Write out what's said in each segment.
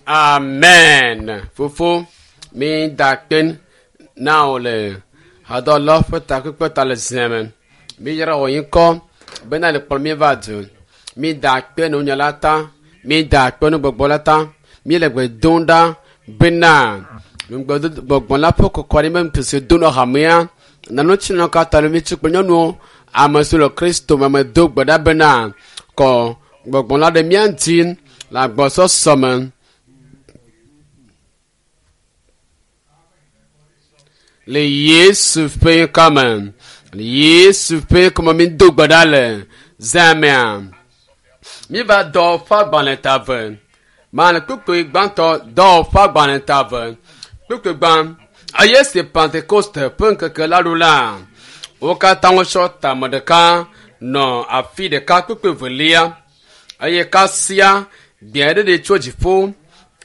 Amen. Fofo, mi da akpe na wò le hadɔlɔ ƒe takpekpe ta le zia me. Mi yra wò ŋkɔ bena le kplɔ mi va du. Mi da akpe na wò nya la ta. Mi da akpe na gbɔgbɔ la ta. Mi le gbe dom ɖa bena gbɔgbɔ la ƒe kɔkɔ ɖe me se do nɔ hamea. Nanu tsi nɔ katã le mi tsi kple nyɔnuwo. Ame siwo le Kristo me me do gbe ɖa bena kɔ gbɔgbɔ la ɖe mía ŋuti le agbɔsɔsɔ me. Le Yesu ƒe ŋkɔ me. Le Yesu ƒe ŋkɔ me mi do gbe ɖa le zãmea. Mi va dɔ ƒe agbalẽ ta ve. Mane kpukpui gbãtɔ dɔ ƒe agbalẽ ta ve. Kpukpui gbã. Eye si Pentekoste ƒe ŋkeke la ɖo la, wo katã wotsɔ tame ɖeka nɔ afi ɖeka kpukpui velia. Eye kasia gbe aɖe ɖi tso dziƒo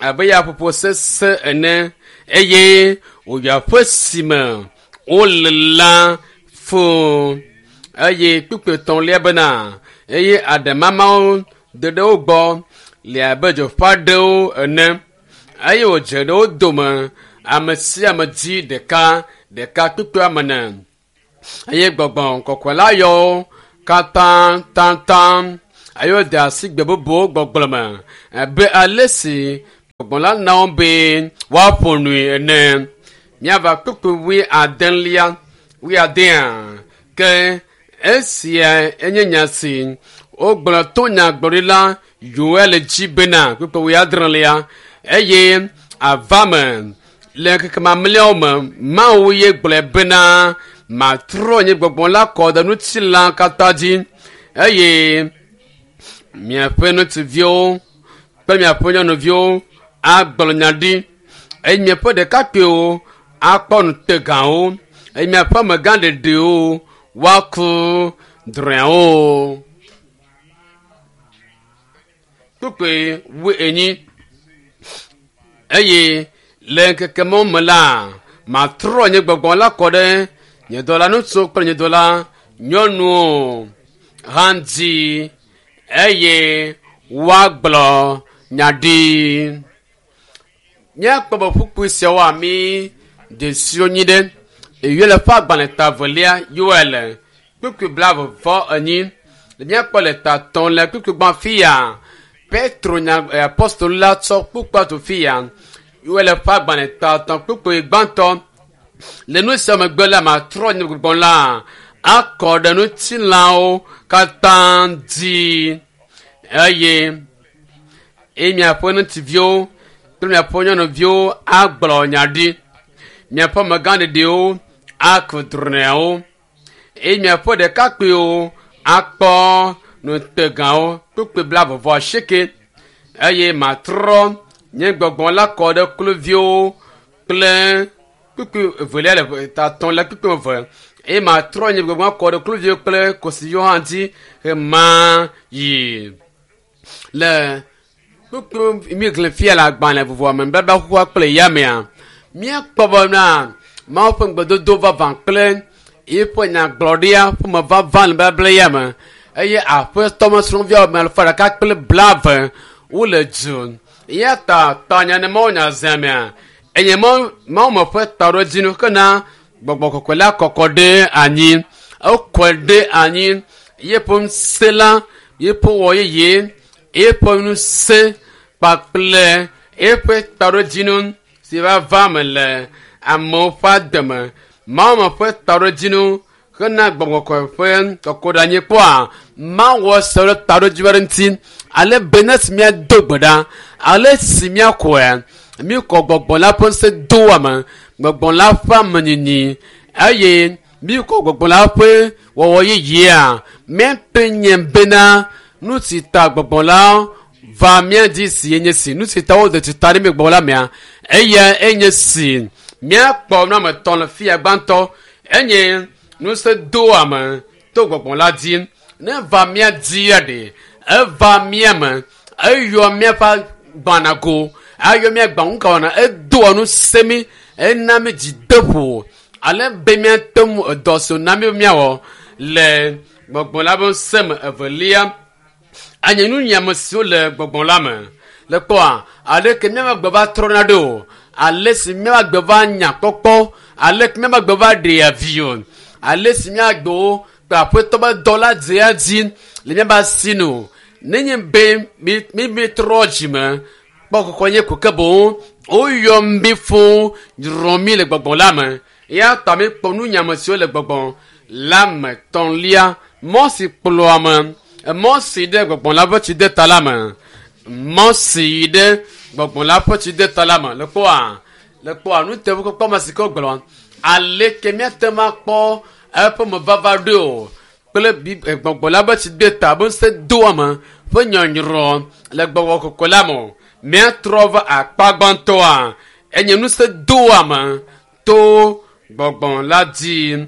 abe yaƒoƒo sesẽ ene eye wòyɔ aƒe si me wole la fũu. Eye kpukpui etɔ̃lia bena eye aɖemamawo do ɖe wo gbɔ le abe dzoƒe aɖewo ene eye wòdze ɖe wo dome ame sia ame dzi ɖeka ɖeka kpukpui ame ene. Eye gbɔgbɔ kɔkɔe la yɔ wo katã taŋtaŋ eye wode asi gbe bubuwo gbɔgblɔ me abe ale si gbɔgbɔ la na wo be woaƒo nui ene. Míava kpukpui wui adelia wui adea ke esia enye nya si wogblɔ to nyagblɔɖila Yoel dzi bena kpukpui wui adrelia eye ava me le ŋkeke mamlɛawo me Mawu ye gblɔe bena matrɔ nye gbɔgbɔ la kɔ ɖe ŋutilã katã dzi eye miaƒe ŋutsuviwo kple miaƒe nyɔnuviwo agblɔ nya ɖi eye miaƒe ɖekakpuiwo akpɔ nutegawo eye miaƒe amegã ɖeɖewo woaku drɔ̃ewo. Kpukpui wui enyi eye le ŋkeke mawo me la matrɔ nye gbɔgbɔ la kɔ ɖe nye dɔla ŋutsuwo kple nye dɔla nyɔnuwo hã dzi eye woagblɔ nya ɖi. Míakpɔ be ƒukpui siawo ami dzesiwo nyi ɖe Yoel ƒe agbalẽ ta velia Yoel kpukpui blaeve vɔ enyi. Míakpɔ le ta tɔ̃ le kpukpui gbã fia Petro nya apostol la tsɔ kpukpua tu fia Yoel ƒe agbalẽ ta tɔ̃ kpukpui gbãtɔ le nu sia megbe la matrɔ nye gbɔgbɔ la akɔ ɖe ŋutilãwo katã dzi eye eye miaƒe ŋutsuviwo kple miaƒe nyɔnuviwo agblɔ nya ɖi miaƒe amegã ɖeɖewo aku drɔ̃ewo eye miaƒe ɖekakpuiwo akpɔ nutegawo kpukpui blaeve vɔ asieke eye matrɔ nye gbɔgbɔ la kɔ ɖe kluviwo kple kpukpui evelia le ta tɔ̃ le kpukpui eve eye matrɔ nye gbɔgbɔ kɔ ɖe kluviwo kple kosiviwo hã dzi ɣema yi le kpukpui mi xlẽ fia le agbalẽ vovovoa me nubabla xoxoa kple yamea míakpɔ bena Mawu ƒe ŋugbedodo vavã kple eƒe nyagblɔɖia ƒe me vava le nubabla ya me eye aƒetɔ mesrɔ̃viawo ame alafa ɖeka kple blaeve wole du eya ta tanya ne Mawu nya zã mea enye Mawu me ƒe taɖodzinu hena gbɔgbɔ kɔkɔe la kɔkɔ ɖe anyi ekɔe ɖe anyi yeƒe ŋusẽ la yeƒe wɔ yeye eƒe ŋusẽ kpakple eƒe taɖodzinu si va va me le amewo ƒe ademe Mawu me ƒe taɖodzinu hena gbɔgbɔ kɔkɔe ƒe kɔkɔɖeanyi kpɔa Mawu se ɖe taɖodzinu aɖe ŋuti ale be ne si míado gbe ɖa ale si míakɔe míkɔ gbɔgbɔ la ƒe ŋusẽ do ame gbɔgbɔ la ƒe amenyinyi eye míkɔ gbɔgbɔ la ƒe wɔwɔ yeyea míate nye bena nu si ta gbɔgbɔ la va mía dzi si enye si nu si ta wode tsi ta ɖe mí gbɔgbɔ la mea eya enye si míakpɔ nu ame etɔ̃ le fia gbãtɔ enye ŋusẽ do ame to gbɔgbɔ la dzi ne va mía dzia ɖe eva mía me eyɔ míaƒe gbanago ayɔ mía gbaŋukawana edoa ŋusẽ mí ena mí dzideƒo ale be míate ŋu edɔ si wòna mí be míawɔ le gbɔgbɔ la ƒe ŋusẽ me evelia anye nunyiame siwo le gbɔgbɔ la me. Le kpɔa, aleke míaƒe agbe va trɔna ɖo, ale si míaƒe agbe va nya kpɔkpɔ, ale ke míaƒe agbe va ɖea vi o, ale si míagbewo kple aƒetɔ be dɔ la dzea dzi le míaƒe asi nu. Nenye be mi mi trɔ dzime kpɔ kɔkɔ nye ko ke boŋ woyɔ mi fũ nyrɔ mi le gbɔgbɔ la me. Eya ta mi kpɔ nunyame siwo le gbɔgbɔ la me tɔ̃lia mɔ si kplɔ ame mɔ si ɖe gbɔgbɔ la ƒe tsideta la me mɔ si ɖe gbɔgbɔ la ƒe tsideta la me le kpɔa le kpɔa nuteƒekpɔkpɔ ma si ke wogblɔ aleke míate ŋu akpɔ eƒe mevava ɖo o kple gbɔgbɔ la ƒe tsideta be ŋusẽ do ame ƒe nyɔnyrɔ le gbɔgbɔ kɔkɔe la me o. Míatrɔ va akpa gbãtɔa enye ŋusẽ do ame to gbɔgbɔ la dzi.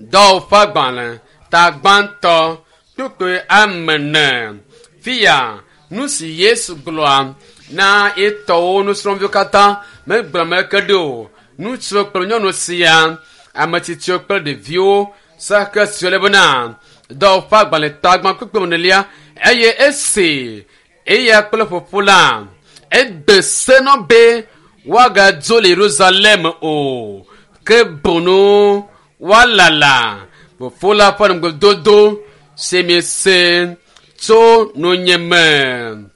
Dɔwɔƒe agbalẽ ta gbãtɔ kpukpui ame ene. Fia nu si Yesu gblɔa na etɔwo nusrɔ̃viwo katã megblɔ me ke ɖo o. Ŋutsuwo kple nyɔnu sia, ame tsitsiwo kple ɖeviwo sake siwo le bena dɔwɔƒe agbalẽ ta gbã kpukpui enelia eye esi eya kple ƒoƒo la ede se nɔ be woagadzo le Yerusalem o ke boŋ woalala fofo la ƒe ŋugbedodo si miese tso nunye me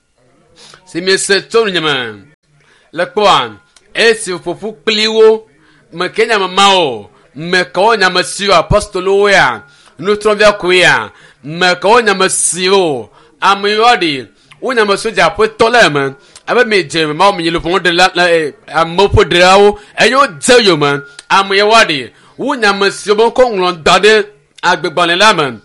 si miese tso nunye me le kpɔa esi ƒoƒu kpli wo meke nye ame mawo mekawo nye ame siwo apostolowo ya nusrɔ̃via koe ya mekawo nye ame siwo ame yiwo ɖi wonye ame siwo dze aƒetɔ le eme abe mi dze mawo mi le ƒome ɖela amewo ƒe ɖelawo eye wodze yome ame yiwo ɖi wonye ame siwo be wokɔ ŋlɔ da ɖe agbegbalẽ la me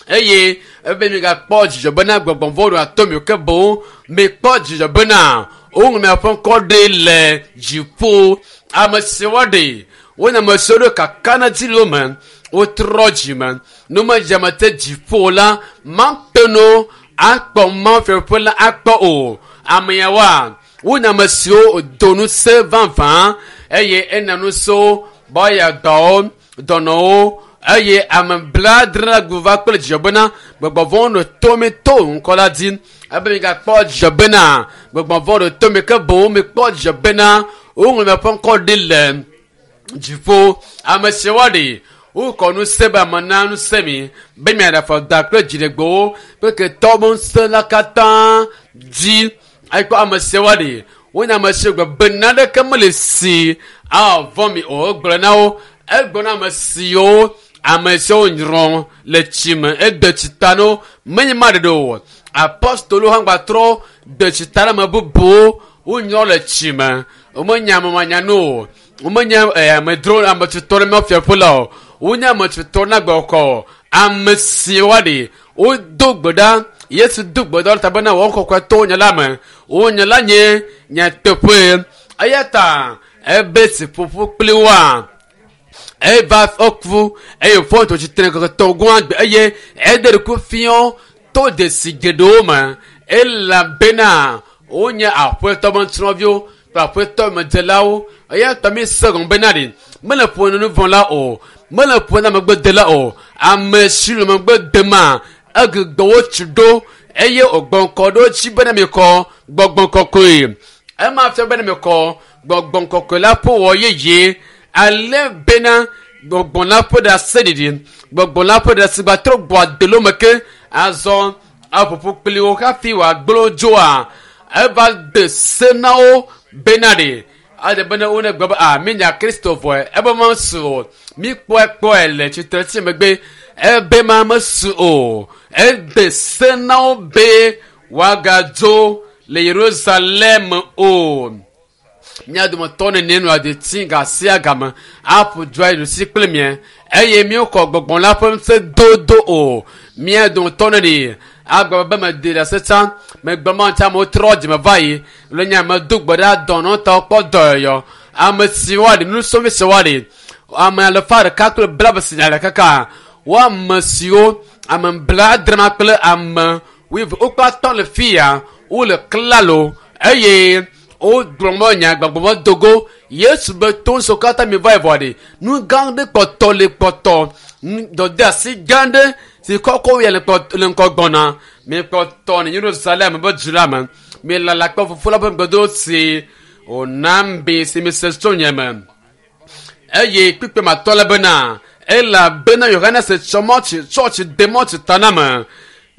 eye ebe migakpɔ dzidzɔ bena gbɔgbɔ vɔ̃ ɖo ato mi o ke boŋ mikpɔ dzidzɔ bena woŋlɔ miaƒe ŋkɔ ɖi le dziƒo. Ame siwo ɖi wonye ame siwo ɖo kakaɖedzi le wo me wotrɔ dzime numedzame te dziƒo la mate ŋu akpɔ Mawu fiaɖuƒe la akpɔ o. Ame yawoa wonye ame siwo do ŋusẽ vavã eye ena ŋusẽwo be woaya dɔwo dɔnɔwo eye ame blaadre la gu va kple dzidzɔ bena gbɔgbɔ vɔ̃wo nɔ tome to ŋkɔ la dzi ebe migakpɔ dzidzɔ bena gbɔgbɔ vɔ̃ nɔ tome ke boŋ mikpɔ dzidzɔ bena woŋlɔ miaƒe ŋkɔ ɖi le dziƒo. Ame siwo ɖi wokɔ ŋusẽ be ame na ŋusẽ mi be miaɖe afɔ da kple dziɖegbewo kple ketɔwo be ŋusẽ la katã dzi. Ekpɔ ame siwo ɖi wonye ame siwo gbe be naneke mele si avɔ̃ mi o. Egblɔ na wo egblɔ na ame siwo ame siwo nyrɔ le tsi me ede tsi ta na wo menye ma ɖeɖe o. Apostolowo hã gbatrɔ de tsi ta na ame bubuwo wonyrɔ le tsi me. Womenye ame manyanu o. Womenye amedzro ame tutɔ ɖe míaƒe fiaƒe la o. Wonye ame tutɔ na gbɔkɔ. Ame siwo ɖi wodo gbe ɖa Yesu do gbe ɖa ta bena wɔn kɔkɔe to nye la me. Wonye la nye nyateƒe. Eya ta ebe si ƒoƒu kpli woa eva eku eye wòfɔ tso tsitre ŋkeke tɔ̃ gɔ̃ agbe eye ede ɖokuiwo fiɔ to dzesi geɖewo me elabena wonye aƒetɔ be nusrɔ̃viwo kple aƒetɔ medzelawo eya ta mi se gɔme bena ɖi mele ƒo nu vɔ̃ la o mele ƒo na megbedela o ame si le megbe dema egbugbɔ wo tsi ɖo eye wògbɔ ŋkɔ ɖo dzi bena mikɔ gbɔgbɔ kɔkɔe ema fia bena mikɔ gbɔgbɔ kɔkɔe la ƒe wɔ yeye ale bena gbɔgbɔ la ƒe ɖaseɖiɖi gbɔgbɔ la ƒe ɖasigba trɔ gbɔ adelo me ke azɔ aƒoƒo kpli wo hafi wòagblɔ dzoa eva de se na wo bena ɖe ade bena wo ne gblɔ be a mi nya Kristo vɔe ebe ma su o mi kpɔe kpɔe le tsitre tsi megbe ebe ma mesu o ede se na wo be woagadzo le Yerusalem o. Mía dometɔ nene nɔ adeti ga sia game aƒo dzoa yi ɖusi kple mia eye míekɔ gbɔgbɔ la ƒe ŋusẽ dodo o. Mía dometɔ nene agblɔ be mede ɖase tsã megbe ma ŋuti amewo trɔ dzime va yi le nye ame do gbe ɖa dɔnɔtɔwo kpɔ dɔyɔyɔ ame siwo aɖi nusrɔ̃vi siwo aɖi ame alafa ɖeka kple blaeve si nya ɖeka ka wo ame siwo ame blaadre ma kple ame wuieve wokpe atɔ̃ le fia wole klalo eye wogblɔ be nya gbɔgbɔ me dogo Yesu be to ŋusẽ katã mi va yi vɔ ɖi nu gã ɖe kpɔtɔ le kpɔtɔ dɔdeasi gã ɖe si kɔkɔ ya le kpɔ le ŋkɔ gbɔna mi kpɔtɔ le Yerusalem be du la me. Milala kpɔ fofo la ƒe ŋugbedodo si wòna mi si mise tso nye me. Eye kpukpui matɔ le bena, elabena Yohanes tsɔ mɔtsi tsɔtsi de mɔtsi ta na me.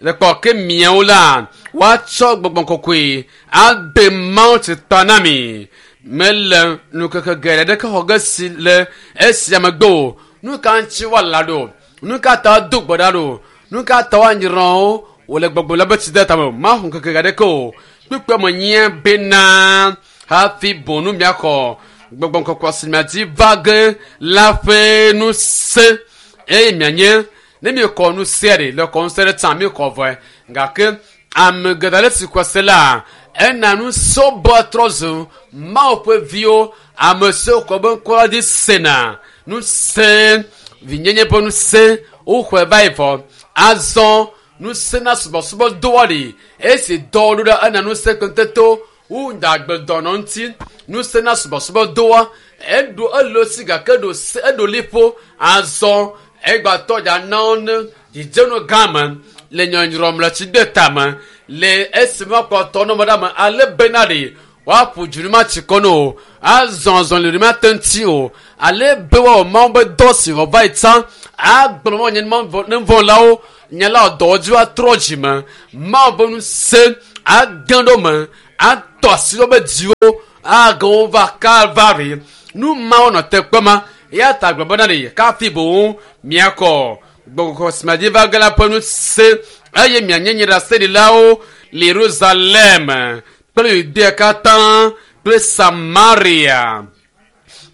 Le kpɔ ke miawo la, woatsɔ gbɔgbɔ kɔkɔe ade mawutsi ta na mi. Mele nukeke geɖe ɖeke xɔ ge si le esia megbe o. Nu ka ŋuti woala ɖo? Nu ka ta woado gbe ɖa ɖo? Nu ka ta woanyrɔ wo wòle gbɔgbɔ la be tsi de tame o? Maxɔ ŋkeke aɖeke o. Kpukpui me nye bena hafi bonu miaxɔ gbɔgbɔ kɔkɔe si miadzi va ge la ƒe ŋusẽ eye mianye ne miekɔ ŋusẽ ɖe le kɔ ŋusẽ ɖe tsã miekɔ vɔe gake ame geɖe ale si kɔ se la ena ŋusẽ bɔ trɔ zu Mawu ƒe viwo ame siwo kɔ be ŋkɔ la dzi sena ŋusẽ vinyenye ƒe ŋusẽ woxɔe va yi vɔ azɔ ŋusẽ na subɔsubɔ doa ɖi esi dɔ ɖo ɖe ena ŋusẽ kpetɔtɔ wu dagbedɔnɔ ŋuti ŋusẽ na subɔsubɔ doa eɖo elo si gake ɖo se eɖo liƒo azɔ egbatɔ dza na wo ne dzidzenu gã me le nyɔnyrɔm le tsi de tame le esime woakpɔtɔ nɔme ɖe ame ale bena ɖe woaƒo dzu ne matsi kɔ ne o azɔ azɔli ne mate ŋuti o ale be woawɔ mawu be dɔ si wɔ va yi tsã agblɔ ma nye nuvɔlawo nye la dɔwɔdzi woatrɔ dzi me mawu be ŋusẽ age ɖo me atɔ asi ɖe wobe dziwo age wo va kalvari nu mawo nɔ te kpe ma eya ta gblɔ bena ɖe kafi boŋ miakɔ gbɔgbɔ si miadzi va ge la ƒe ŋusẽ eye mianye nye ɖaseɖilawo le Yerusalem kple Yudea katã kple Samaria.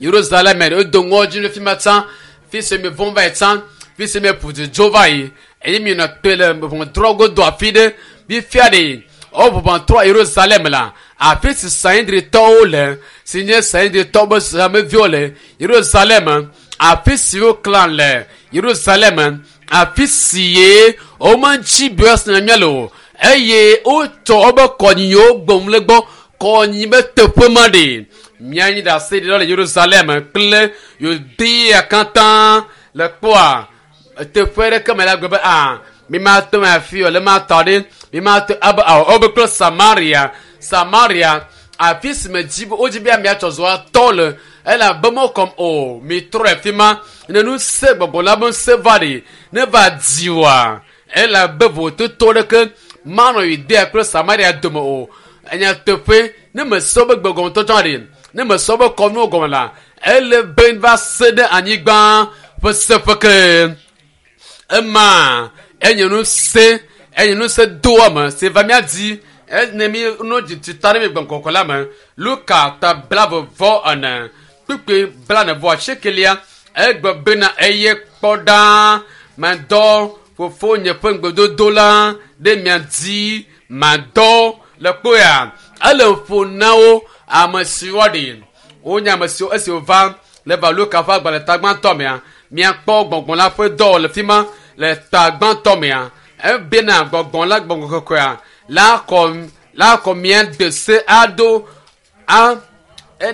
Yerusalem ɖe wodo ŋɔdzi ɖe fi ma tsã fi si mi vɔ̃ va yi tsã fi si mi ƒu du dzo va yi eye mi nɔ te le ʋɔnudrɔ̃ godo afi ɖe fifia ɖe woʋɔnudrɔ̃ Yerusalem la afi si Sanhedritɔwo le si nye Sanhedritɔwo be hameviwo le Yerusalem afi si woklã le Yerusalem afi si ye womedzi be woasina mía le o eye wotsɔ wobe kɔnyiwo gbɔm le gbɔ kɔnyi be teƒe ma ɖe míanyi ɖase ɖe le Yerusalem kple Yudea katã le kpɔa teƒe ɖeke me la gblɔ be a mi ma te ŋu afi o le ma tɔ ɖe mi ma te abe awɔ wobe kple Samaria Samaria afi si me dzi wodzi be amea tsɔ zɔ atɔ le elabe mekɔm o mi trɔ le fi ma ne ŋusẽ gbɔgbɔ la be ŋusẽ va ɖe ne va di oa elabe vototo ɖeke manɔ Yudea kple Samaria dome o enyateƒe ne mesɔ be gbegɔmetɔtɔ ɖe ne mesɔ be kɔnuwo gɔme la ele be va se ɖe anyigba ƒe seƒe ke ema enye ŋusẽ enye ŋusẽ doa me si va mía dzi ene mi no dzi ta ɖe mi gbɔgbɔ la me Luka ta blaeve vɔ ene kpukpui blane vɔ asiekelia egbe bena eye kpɔ ɖa medɔ fofonye ƒe ŋugbedodo la ɖe mia dzi madɔ le kpoya ele ƒo na wo ame siwo ɖi wonye ame siwo esi wova le va Luka ƒe agbalẽ ta gbãtɔ mea miakpɔ gbɔgbɔ la ƒe dɔ le fi ma le ta gbãtɔ mea ebena gbɔgbɔ la gbɔgbɔ kɔkɔea la kɔ la kɔ mia de se aɖo a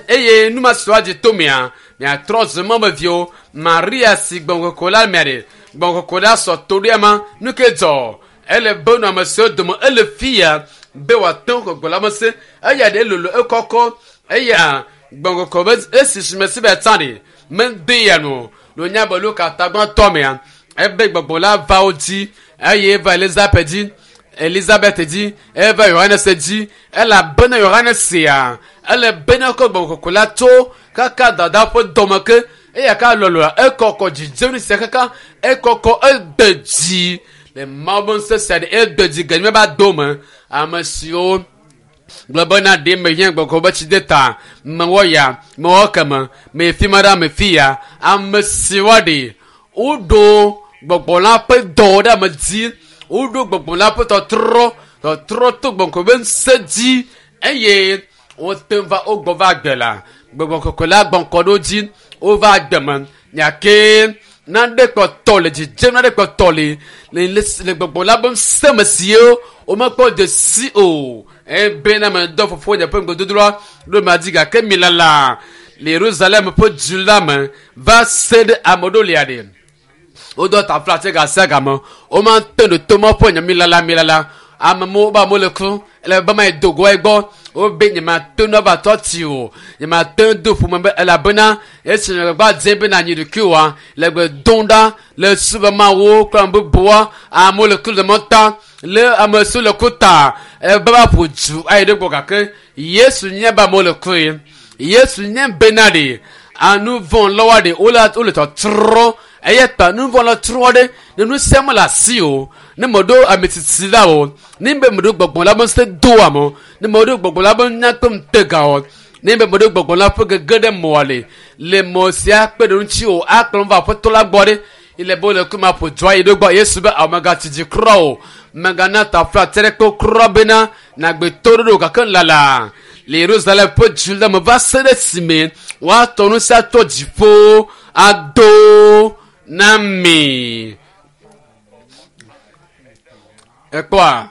eye nu ma si woadzi to mea miatrɔ zu mɔmeviwo Maria si gbɔgbɔ kɔkɔe la mea ɖe gbɔgbɔ kɔkɔe la sɔ to ɖe ma nu ke dzɔ ele be nu ame siwo dome ele fia be wòate ŋu gbɔgbɔ la me se eya ɖe lolo ekɔkɔ eya gbɔgbɔ kɔkɔe be esi si me si be tsã ɖe mede ya nu lo nya be Luka ta gbãtɔ mea ebe gbɔgbɔ la va wo dzi eye eva Elizabeth dzi Elizabeth dzi eva Yohanes dzi elabena Yohanes sia ele bena kɔ gbɔgbɔ kɔkɔe la tso kaka dada ƒe dɔme ke eya ka lɔlɔa ekɔkɔ dzidzenu sia kaka ekɔkɔ ede dzi le Mawu be ŋusẽ sia ɖe ede dzi ge míava do me ame siwo gblɔ bena ɖe mehiã gbɔgbɔ be tsi de ta mewɔ ya mewɔ keme me fi ma ɖe me fi ya ame siwo ɖe woɖo gbɔgbɔ la ƒe dɔ ɖe ame dzi woɖo gbɔgbɔ la ƒe tɔtrɔ tɔtrɔ to gbɔgbɔ be ŋusẽ dzi eye wote va wogbɔ va agbe la gbɔgbɔ kɔkɔe la gbɔnkɔ ɖo dzi wova agbe me nyake naɖe kpɔtɔ le dzidzem naɖe kpɔtɔ le le le gbɔgbɔ la be ŋusẽ me siwo womekpɔ de si o ebena me dɔ fofo nye ƒe ŋugbedodoa ɖo ma dzi gake mi lala le Yerusalem ƒe du la me va se ɖe ame ɖo lia ɖe wodɔ tafla tse gasia game womate ɖo to ma ƒe nya mi lala mi lala Amewo be amewo le ku ele be ma yi do go egbɔ. Wobe nyemate ŋu ava tɔ tsi o. Nyemate ŋu do ƒome be elabena esi le gba dze be nanyi ɖokuiwoa le gbe dom ɖa le su be mawo kple ame bubuwoa amewo le ku le mɔta le ame siwo le ku ta ebe va ƒo du ayi ɖe gbɔ gake Yesu nye be amewo le ku ye. Yesu nye bena ɖe anu vɔ̃ lɔwoa ɖe wole wole tɔtrɔ eya ta nu vɔ̃ la trɔ ɖe ne nu sia mele asi o ne meɖo ame tsitsi la o ne be meɖo gbɔgbɔ la be ŋusẽ do ame ne meɖo gbɔgbɔ la be nya kple ŋutega o ne be meɖo gbɔgbɔ la ƒe gege ɖe mɔa le le mɔ sia kpe ɖe ŋuti o akplɔm va aƒetɔ la gbɔ ɖe ile be wole kuma ƒo dua yi ɖo gbɔ Yesu be awo megatsi dzi kura o megana tafla tse ɖe kpe kura bena nagbe to ɖoɖo gake lala le Yerusalem ƒe du la me va se ɖe esime woatɔ nu sia tɔ dziƒo ado na mi. Ekpɔa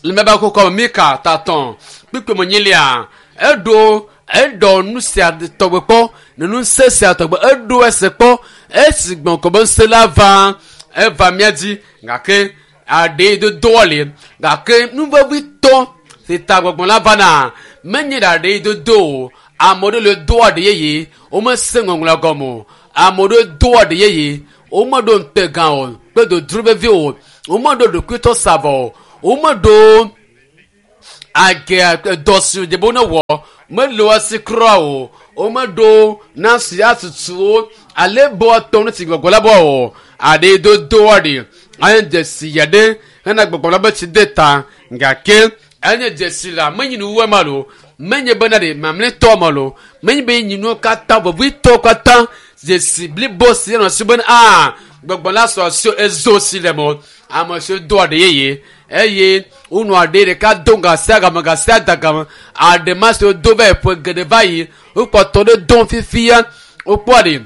le mebe kɔkɔ me Mika tatɔn kpikpi me nyilia eɖo eɖɔ nu sia tɔgbe kpɔ ne nu se sia tɔgbe eɖo ese kpɔ esi gbɔn kɔ be ŋusẽ la va eva mía dzi gake aɖe dodoa li gake nu vevitɔ si ta gbɔgbɔ la vana menye ɖe aɖe dodo o ame ɖewo le do aɖe yeye womese ŋɔŋlɔ gɔme o ame ɖewo do aɖe yeye womeɖo ŋutegã o kple dodro vevi o womeɖo ɖokuitɔ savɔ o womeɖo age dɔ si dze be wonewɔ mele wo si kura o womeɖo nasi atutu ale be woatɔ nu si gbɔgbɔ la bɔ o aɖe dodo aɖe enye dzesi ya ɖe hena gbɔgbɔ la be tsi de ta gake enye dzesi la menyi nuwuwue ma lo menye bena ɖe mamlɛtɔ ma lo menye be nyinuwo katã vevitɔwo katã dzesi blibo si enɔ si bena aa gbɔgbɔ la sɔ asi ezo si le mo ame siwo do aɖe yeye eye wonɔ aɖe ɖeka do gasia game gasia da game aɖe ma siwo do va yi ƒe geɖe va yi wokpɔtɔ ɖe dom fifia wokpɔ aɖe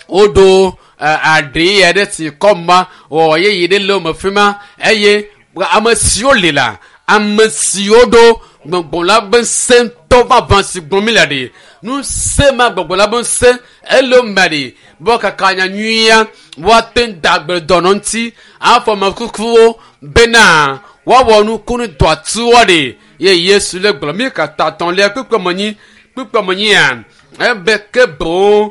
woɖo aɖe ya ɖe si kɔ ma wɔ yeye ɖe le wo me fi ma eye ame siwo li la ame siwo ɖo gbɔgbɔ la be ŋusẽ ŋutɔ vavã si gblɔm mi le ɖe ŋusẽ ma gbɔgbɔ la be ŋusẽ ele wo me ɖe be woakaka nya nyuia woate ŋu da gbe dɔnɔ ŋuti afɔ ame kukuwo bena woawɔ nukunu dɔ atuwoa ɖe ye Yesu le gblɔ mi katã tɔ̃lia kpukpɔ me nyi kpukpɔ me nyia ebe ke boŋ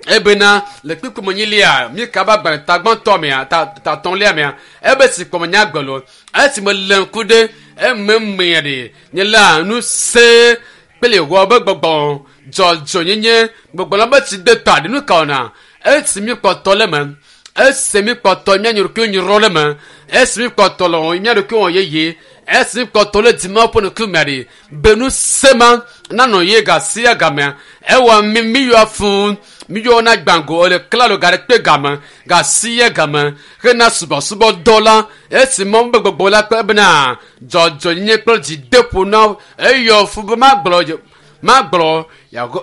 ebena le kpukpɔ me nyilia mi kaba agbalẽ tagbãtɔ mea ta tatɔ̃lia mea ebe si kpɔ me nya gbe lo esi me le ŋku ɖe ememea ɖe nye la ŋusẽ kple Yehowa be gbɔgbɔ dzɔdzɔnyenye gbɔgbɔ la be tsi de ta ɖe nu ka wɔna esi mi kpɔtɔ le me esi mi kpɔtɔ mía ɖokui nyrɔ le me esi mi kpɔtɔ le mía ɖokui wɔ yeye esi mi kpɔtɔ le dzima ƒe ŋkume ɖe be ŋusẽ ma nanɔ ye gasia gamea ewɔ mi mi yɔ fún mi yɔ na gbango le klalo ga ɖe kpe game gasia game hena subɔsubɔ dɔ la esi mɔ be gbɔgbɔ la kpe bena dzɔdzɔnyenye kple dzideƒo na eyɔ fún be magblɔ magblɔ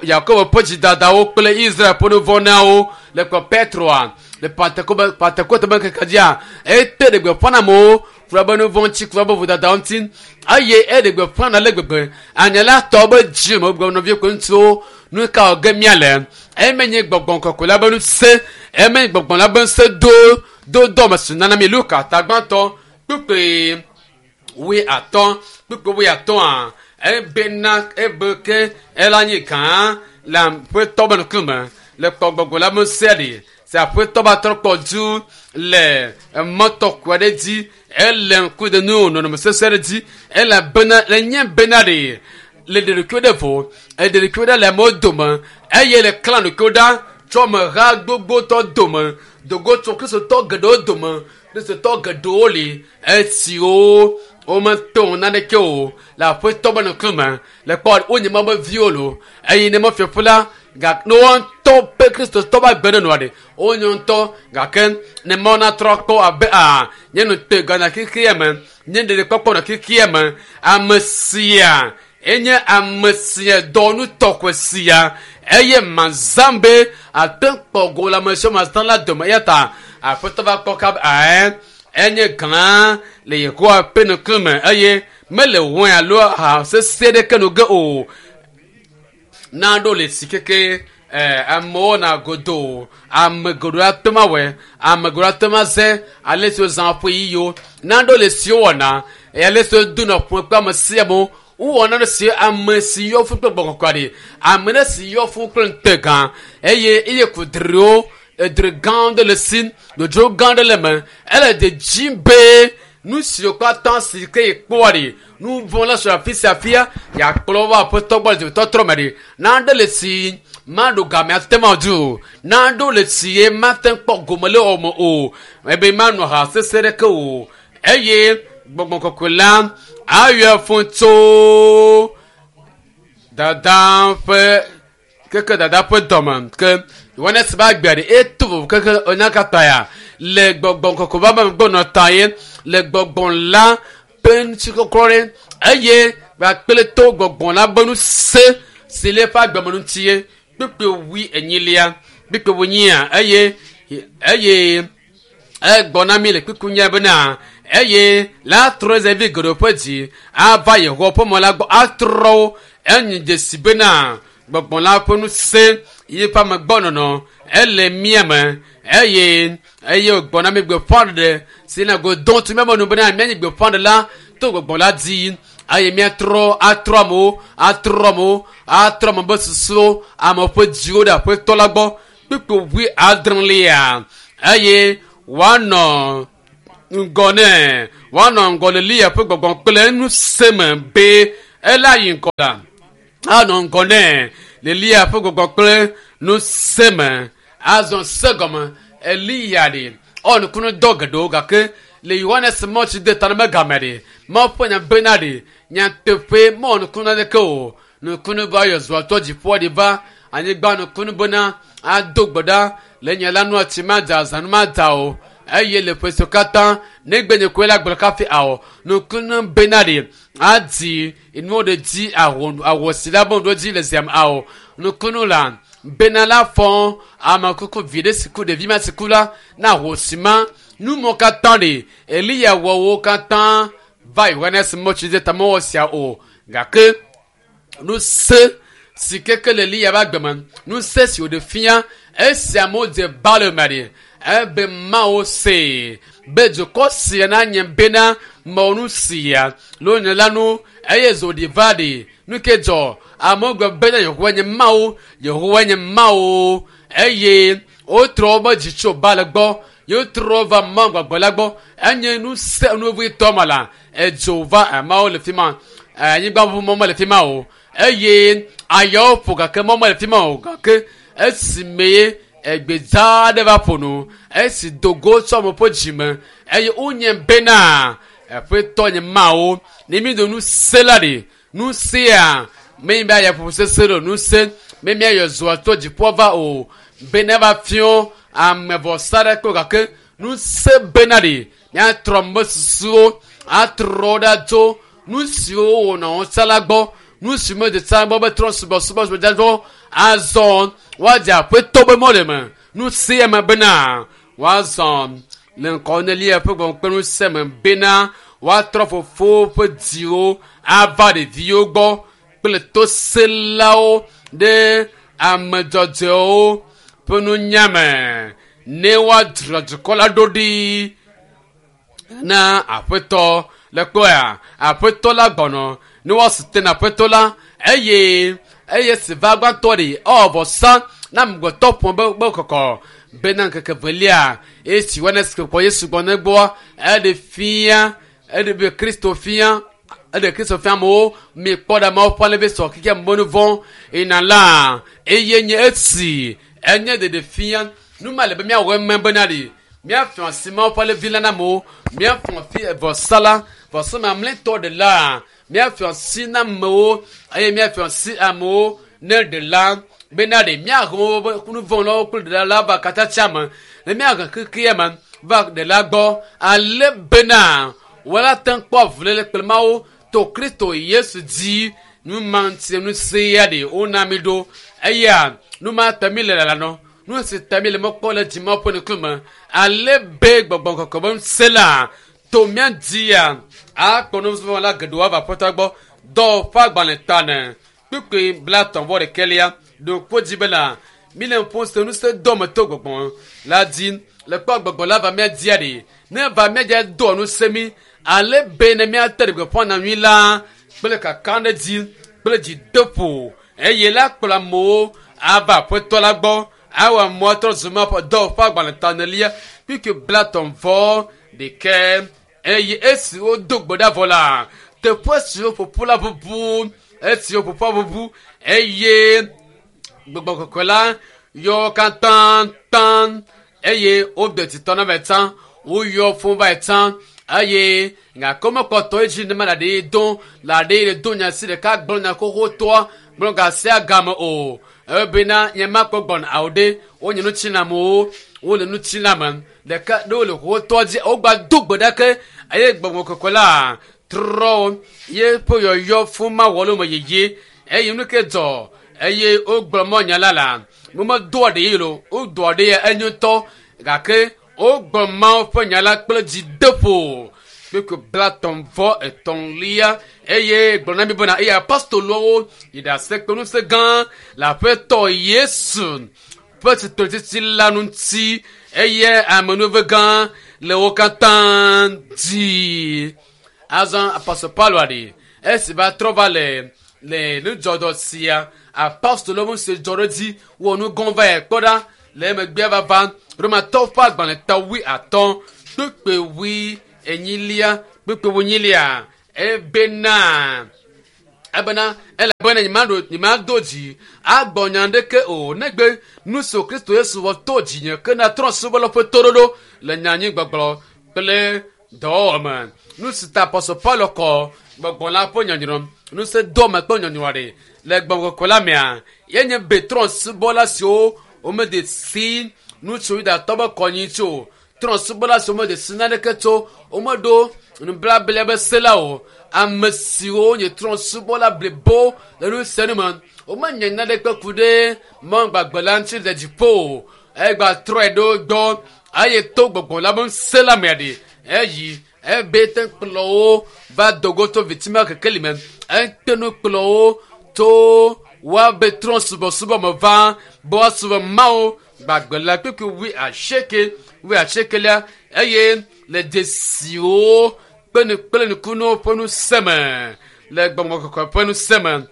Yakobo ƒe dzidadawo kple Israel ƒe nuvɔ̃ na wo le kpe Petroa le Pentekoste be ŋkeke dzia ete ɖe gbeƒã na amewo kura be nuvɔ̃ ŋuti kura be vodadawo ŋuti eye eɖe gbeƒã na le gbegbe anya la tɔ be dzi me gblɔ nɔviwo kple ŋutsuwo nu ka wɔ ge míale eme nye gbɔgbɔ kɔkɔe la be ŋusẽ eme nye gbɔgbɔ la be ŋusẽ do do dɔme si nana mi Luka tagbãtɔ kpukpui 8 kpukpui 8 ebena ebe ke ela nye gã le aƒetɔ be ŋkume le kpɔ gbɔgbɔ la be ŋusẽ ɖi si aƒetɔ ba trɔ kpɔ du le emɔtɔkɔ aɖe dzi ele ŋku ɖe nu nɔnɔme sesẽ ɖe dzi elabena le nye bena ɖe le ɖeɖekuiwo ɖe vo eɖeɖekuiwo ɖe le amewo dome eye le klã ɖokuiwo ɖa tso ameha gbogbotɔ dome dogo tso kristotɔ geɖewo dome kristotɔ geɖewo li esiwo wometo naneke o le aƒetɔ be ŋkume le kpɔ wonye ma be viwo lo eye ne mefiaƒu la gake ne woa ŋutɔ ƒe kristotɔ be agbe ɖe nɔa ɖe wonye ŋutɔ gake ne mawo natrɔ kpɔ abe a nye nu te gana xexea me nye ɖeɖekpɔkpɔ nɔ xexea me ame sia enye ame sia dɔwɔnu tɔxɛ sia eye mazã be ate kpɔ go le ame siwo mazã la dome eya ta aƒetɔ va kpɔ kaba ɛɛ enye gã le Yehowa ƒe ŋkume eye mele wɔe alo aha sesẽ ɖeke no ge o na ɖo le si keke Amewo na godo ame geɖewo ate ŋu awɔe, ame geɖewo ate ŋu aze ale si wozã woƒe ɣeyiɣiwo. Nanewo le esi wowɔna eye ale si wodona ƒome kple ame sia amewo. Wowɔ nane si ame si yɔ fũ kple gbɔgbɔ kɔkɔe ɖi, ame ɖe si yɔ fũ kple ŋutegã eye eye kudriwo edri gã aɖe le esi, dzodzro gã aɖe le eme. Ele dzedzim be nu siwo katã si ke yekpɔa ɖi, nu vɔ̃ la sɔ afi sia afia, yeakplɔ va aƒetɔ gbɔ le dzimetɔtrɔ me ɖi. Nane le si maɖo game ate ŋu adi o. Nanewo le si ye mate ŋu kpɔ gome le wɔme o. Ebe manɔ ha sesẽ ɖeke o. Eye gbɔgbɔ kɔkɔe la ayɔ fũ tso dada ƒe keke dada ƒe dɔme ke Yohanes be agbea ɖe eto vovo keke enya katã ya le gbɔgbɔ kɔkɔe va me gbɔnɔ ta ye le gbɔgbɔ la ƒe ŋutikɔklɔ ɖe eye kpakple to gbɔgbɔ la be ŋusẽ si le eƒe agbeme ŋuti ye kpukpui wui enyilia kpukpui wui nyia eye eye egbɔ na mi le kpukpui nyia bena eye la trɔ Israelvi geɖewo ƒe dzi ava Yehowa ƒe mɔ la gbɔ atrɔ wo enyi dzesi bena gbɔgbɔ la ƒe ŋusẽ yi ƒe amegbɔnɔnɔ ele mía me eye eye wògbɔ na mi gbeƒãɖeɖe si na godɔ tso míame nu bena míanyi gbeƒãɖela to gbɔgbɔ la dzi eye míatrɔ atrɔ amewo atrɔ amewo atrɔ ame ƒe susuwo ame ƒe dziwo ɖe aƒetɔ la gbɔ kpukpui wui adrelia eye woanɔ ŋgɔ nɛ woanɔ ŋgɔ le Eliya ƒe gbɔgbɔ kple ŋusẽ me be ela yi ŋgɔ la anɔ ŋgɔ nɛ le Eliya ƒe gbɔgbɔ kple ŋusẽ me azɔ se gɔme Eliya ɖi ewɔ nukunu dɔ geɖewo gake le Yohanes mɔ tsi de ta na megame ɖi Mawu ƒe nya bena ɖi nyateƒe mewɔ nukunu aɖeke o nukunu be ayɔ zua tɔ dziƒoa ɖi va anyigba nukunu bena ado gbe ɖa le nye la nua tsi madza azãnu madza o eye le ƒe siwo katã negbe nye koe la gblɔ kafi awɔ nukunu bena ɖi adi nuwo ɖe dzi awɔ awɔ si la be ɖo dzi le ziam awɔ nukunu la bena la fɔ ame kuku vi ɖe si ku ɖevi ma si ku la na wò si ma numɔ katã ɖi Eliya wɔ wo katã va Yohanes mɔtsi de ta mewɔ sia o gake ŋusẽ si keke le Eliya ƒe agbe me ŋusẽ si wòɖe fia esi amewo dze ba le me ɖi ebe Mawu see be dukɔ sia nanye bena mewɔ nu sia le nye la nu eye zo ɖi va ɖi nu ke dzɔ amewo gblɔ bena Yehowa nye Mawu Yehowa nye Mawu eye wotrɔ woƒe dzi tso Baal gbɔ yewotrɔ va Mawu gbagbe la gbɔ enye ŋusẽ nuvitɔ ma la edzo va ameawo le fi ma anyigba ʋuʋu mɔ mele fi ma o eye ayawo ƒo gake mɔ mele fi ma o gake esime egbedza aɖe va ƒo nu esi dogo tso ame ƒe dzime eye wonye bena aƒetɔ nye Mawu ne mi do ŋusẽ la ɖi ŋusẽa menye be ayaƒoƒo sesẽ ɖo ŋusẽ me míayɔ zɔa tso dziƒoa va o bena va fiɔ ame vɔsa ɖe ko gake ŋusẽ bena ɖi míatrɔ ame susuwo atrɔ ɖa tso nu siwo wònɔ wo la gbɔ nu si medze tsã gbɔ be trɔ subɔsubɔ subɔdzadzɔ azɔ woadze aƒetɔ be mɔ le me ŋusẽ me bena woazɔ le ŋkɔ ne Eliya ƒe gbɔgbɔ kple ŋusẽ me bena woatrɔ fofowo ƒe dziwo ava ɖeviwo gbɔ kple toselawo ɖe ame dzɔdzɔewo ƒe nunya me ne woadzra dukɔ la ɖo ɖi na aƒetɔ le kpɔya aƒetɔ la gbɔnɔ ne woasi te na aƒetɔ la eye eye si va gbãtɔ ɖi ewɔ vɔsa na amegbetɔ ƒome be be kɔkɔ bena ŋkeke velia esi Yohanes kpɔ Yesu gbɔ ne gbɔa eɖe fia eɖe be Kristo fia eɖe Kristo fia amewo mi kpɔ ɖe amewo ƒe alebe sɔ keke ame nu vɔ̃ ina la eye nye esi enye ɖeɖe fia nu ma le be míawɔ eme bena ɖi míafia asi Mawu ƒe alevi la na amewo míafia fi vɔsa la vɔsa mamlɛtɔ ɖe la míafia asi na amewo eye míafia asi amewo ne ɖela bena ɖe míahe woƒe nu vɔ̃ lawo kple ɖela la va katatsia me ne míahe xexea me va ɖela gbɔ ale bena woala te ŋu kpɔ avuléle kple Mawu to Kristo Yesu dzi nu ma ŋuti ŋusẽ ya ɖe wona mi ɖo eya nu ma ta mi le lala nɔ nu si ta mi le mɔkpɔ le dzime ƒe ŋkume ale be gbɔgbɔ kɔkɔe be ŋusẽ la to mía dzia akpɔ nusrɔ̃la la geɖewo ava aƒetɔ gbɔ dɔ ƒe agbalẽ ta ne kpukpui blatɔ̃ vɔ ɖekɛlia ɖo kpo dzi bena Mi le ƒo se ŋusẽ dɔ me to gbɔgbɔ la dzi. Le kpɔ gbɔgbɔ la va mía dzia ɖi. Ne va mía dzia doa ŋusẽ mi ale be ne míate ɖe gbeƒã nyanyui la kple kakaɖedzi kple dzideƒo eye la kplɔ amewo ava aƒetɔ la gbɔ awɔ amewo atrɔ zu ma ƒe dɔwɔƒe agbalẽ tanelia kpikpi 31 eye esi wodo gbe ɖa vɔ la teƒe siwo ƒoƒu la ʋuʋu esiwo ƒoƒua ʋuʋu eye gbɔgbɔ kɔkɔe la yɔ wo katã taŋ eye wode titɔ na va tsã woyɔ fún va tsã eye gake womekpɔtɔ edzi ne ma le aɖe do le aɖe le do nya si ɖeka gblɔ nya xoxotɔa gblɔ gasia game o ebena nye ma kpɔ gbɔna awo ɖe wonye nutsinamewo wole nutsiname ɖeka ɖe wole xoxotɔa dzi wogba do gbe ɖa ke eye gbɔgbɔ kɔkɔe la trɔ ye ƒe yɔyɔ fún ma wɔ le me yeye eye nu ke dzɔ eye wogblɔ mɔ nya la la womedoa ɖe ye lo wodoa ɖe ya enyo ŋutɔ gake wogblɔ mawo ƒe nya la kple dzideƒo kpekpe 33 eye gblɔ na mi bena eye apostolowo yi ɖase kple ŋusẽ gã le aƒetɔ Yesu ƒe tsitretsitsi la ŋuti eye amenuve gã le wo katã dzi. Azɔ apostol Paulo aɖe esi va trɔ va le le nudzɔdzɔ sia apostolowo ŋusẽ dzɔ ɖe dzi wɔ nu gɔ̃ va yi kpɔ ɖa le emegbea vava Romatɔwo ƒe agbalẽ ta 50 kpekpe 40 kpekpe 40 ebena ebena elabena nyemado dzi agbɔ nya ɖeke o negbe nu si Kristo Yesu wɔ to dzinye ke na trɔ̃subɔlawo ƒe toɖoɖo le nyanyigbɔgblɔ kple dɔwɔwɔ me. Nu si ta apostol Paulo kɔ gbɔgbɔ la ƒe nyɔnyrɔ ŋusẽ do me kple nyɔnyrɔ ɖe le gbɔgbɔ kɔkɔe la mea ye nye be trɔ̃subɔla siwo womede si nu tso Yudatɔ be kɔnyi tso trɔ̃subɔla siwo womede si naneke tso womeɖo nublabla be se la o ame siwo nye trɔ̃subɔla blibo le nu sia nu me womenye naneke ku ɖe mɔ gbagbe la ŋuti le dziƒo o egba trɔe ɖo gbɔ eye to gbɔgbɔ la be ŋusẽ la mea ɖe eyi ebe te kplɔ wo va dogo to vitsime kekeli me ete nu kplɔ wo to woabe trɔ̃ subɔsubɔ me va be woasubɔ Mawu gbagbe la kpekpe 88 wuiasiekelia eye le dzesiwo kple kple nukunuwo ƒe ŋusẽ me le gbɔgbɔ kɔkɔe ƒe ŋusẽ me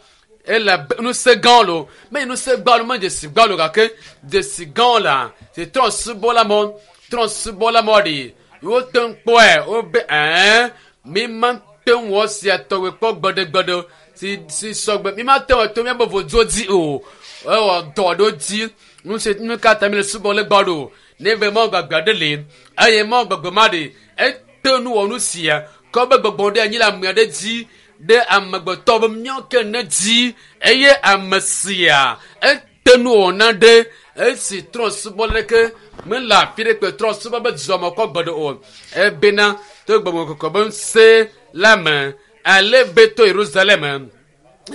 ele ŋusẽ gãwo lo menye ŋusẽ gã lo menye dzesi gã lo gake dzesi gãwo la si trɔ̃subɔla mɔ trɔ̃subɔla mɔ ɖi wote ŋu kpɔe wobe ɛɛ mi ma te ŋu wɔ sia tɔgbe kpɔ gbeɖegbeɖe si si sɔgbe mi ma te ŋu to míaƒe voduwo dzi o ewɔ dɔ ɖo dzi nu si nu ka ta mi le subɔ le gbɔ ɖo ne be mɔ gbagbe aɖe li eye mɔ gbagbe ma ɖi ete nu wɔ nu sia kɔ be gbɔgbɔ ɖe anyi le ame aɖe dzi ɖe amegbetɔ be míawo ke ne dzi eye ame sia ete nu wɔna ɖe esi trɔ̃subɔ ɖeke mele afi ɖe kpe trɔ̃subɔ be dzɔme kɔ gbe ɖe o ebena to gbɔgbɔ kɔkɔe be ŋusẽ la me ale be to Yerusalem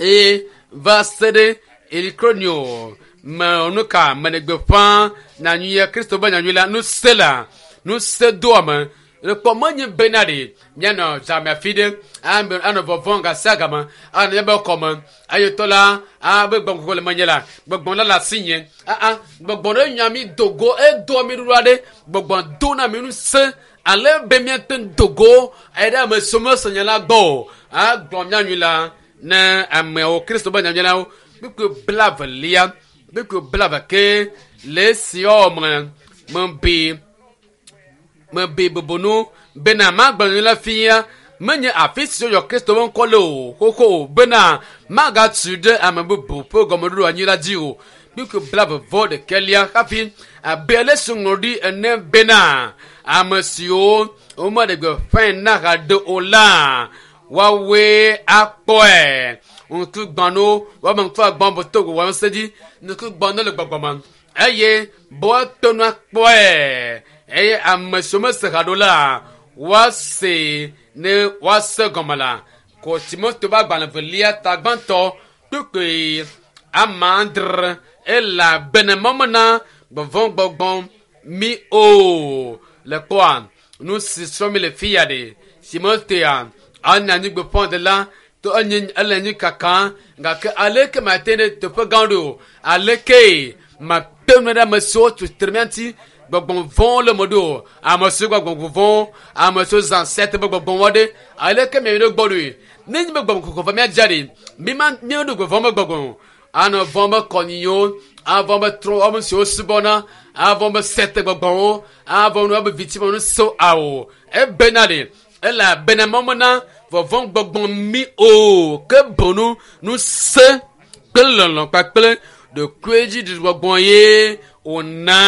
eye va se ɖe Ikonio me nu ka me gbeƒã nyanyuia Kristo be nyanyui la ŋusẽ la ŋusẽ doa me lekpɔ menye bena ɖe míanɔ dzame afi ɖe anɔ vɔvɔ̃ gasia game anɔ míaƒe kɔme eye tɔ la abe gbɔgbɔ kɔkɔe le menye la gbɔgbɔ la le asinye aa gbɔgbɔ ɖe nya mi dogo edoa mi ɖoɖo aɖe gbɔgbɔ dona mi ŋusẽ ale be míate ŋu dogo eye ɖe ame siwo mese nya la gbɔ o agblɔ nyanyui la ne ameawo Kristo be nyanyui la wo kpukpui 22 kpukpui 20 ke le esiawo me mebe mebe bubunu bena magblɔ nyanyui la fia menye afi si woyɔ Kristo ƒe ŋkɔ le o xoxo o bena magatu ɖe ame bubu ƒe gɔmeɖoɖo anyi la dzi o kpukpui 31 hafi abe ale si ŋlɔ ɖi ene bena ame siwo womeɖe gbeƒãe na haɖe o la woawoe akpɔe ŋku gbãno woame ŋku agbã bo to gbɔgbɔ ŋusẽ dzi ŋku gbãno le gbɔgbɔ me eye be woate ŋu akpɔe eye ame siwo mese haɖo la woase ne woase gɔme la ko Timoteo ƒe agbalẽ velia ta gbãtɔ kpukpui 6 elabena mɔmena gbɔgbɔgbɔgbɔ mi o le kpɔa nu si srɔ̃ mi le fi ya ɖe Timotea anye anyigbeƒãɖela to enye ele anyi kaka gake aleke mate ɖe teƒe gã ɖo aleke Makpe nu ɖe ame siwo tutre mía ŋuti gbɔgbɔ vɔ̃wo le me ɖo ame siwo gbɔgbɔ vɔ̃wo ame siwo zã sete be gbɔgbɔ vɔ̃ ɖe aleke mia ɖo gbɔ ɖoe ne nye be gbɔgbɔ kɔkɔ va mía dza ɖe mi ma mi ɖo gbɔgbɔ me gbɔgbɔ anɔ vɔ̃ be kɔnyiwo avɔ be trɔ ame siwo subɔna avɔ be sete gbɔgbɔwo avɔ nu be viti me nu so awo ebena ɖe elabena mɔmena vɔvɔ̃ gbɔgbɔ mi o ke bonu nu se kple lɔlɔ kpakple ɖokuidzi gbɔgbɔ ye wòna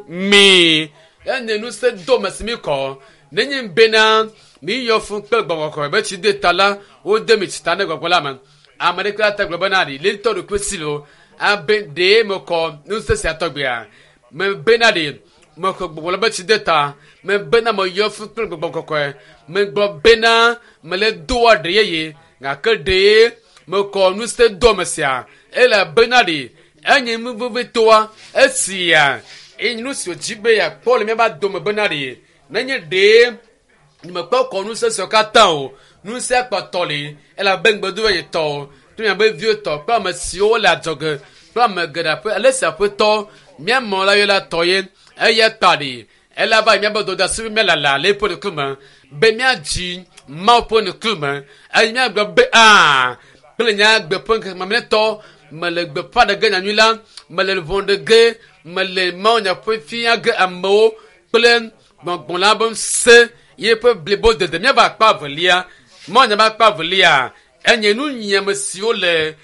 mi ene nu se do me si mi kɔ nenye bena mi yɔ fún kple gbɔgbɔ kɔkɔe be tsi de ta la wode mi tsi ta ne gbɔgbɔ la me ame ɖeke la te gblɔ bena ɖi le ŋutɔ ɖokui si lo abe ɖee mekɔ ŋusẽ sia tɔgbea me bena ɖe mekɔ gbɔgbɔ la be tsi de ta me bena meyɔ fún kple gbɔgbɔ kɔkɔe megblɔ bena mele doa ɖe yeye gake ɖee mekɔ ŋusẽ do ame sia elabena ɖe enye nu vevitoa esia eye nu si wòdzi be yeakpɔ le míaƒe dome bena ɖe nenye ɖee mekpɔ kɔ ŋusẽ siawo katã o ŋusẽ akpɔtɔ li elabe ŋgbedo be yetɔ kple miabe viwo tɔ kple ame siwo le adzɔge kple ame geɖe ƒe ale si aƒetɔ míamɔ la yɔ la tɔ ye eya ta ɖi elaba míabe dɔdasi be míalala le eƒe ŋkume be míadzi Mawu ƒe ŋkume eye míagblɔ be aa kple nya gbe ƒe ŋkeke mamlɛtɔ mele gbeƒã ɖe ge nyanyui la mele ʋɔ ɖe ge mele Mawu nya ƒe fia ge amewo kple gbɔgbɔ la be ŋusẽ yeƒe blibo dede míava akpa evelia Mawu nya be akpa evelia enye nu nyiame siwo le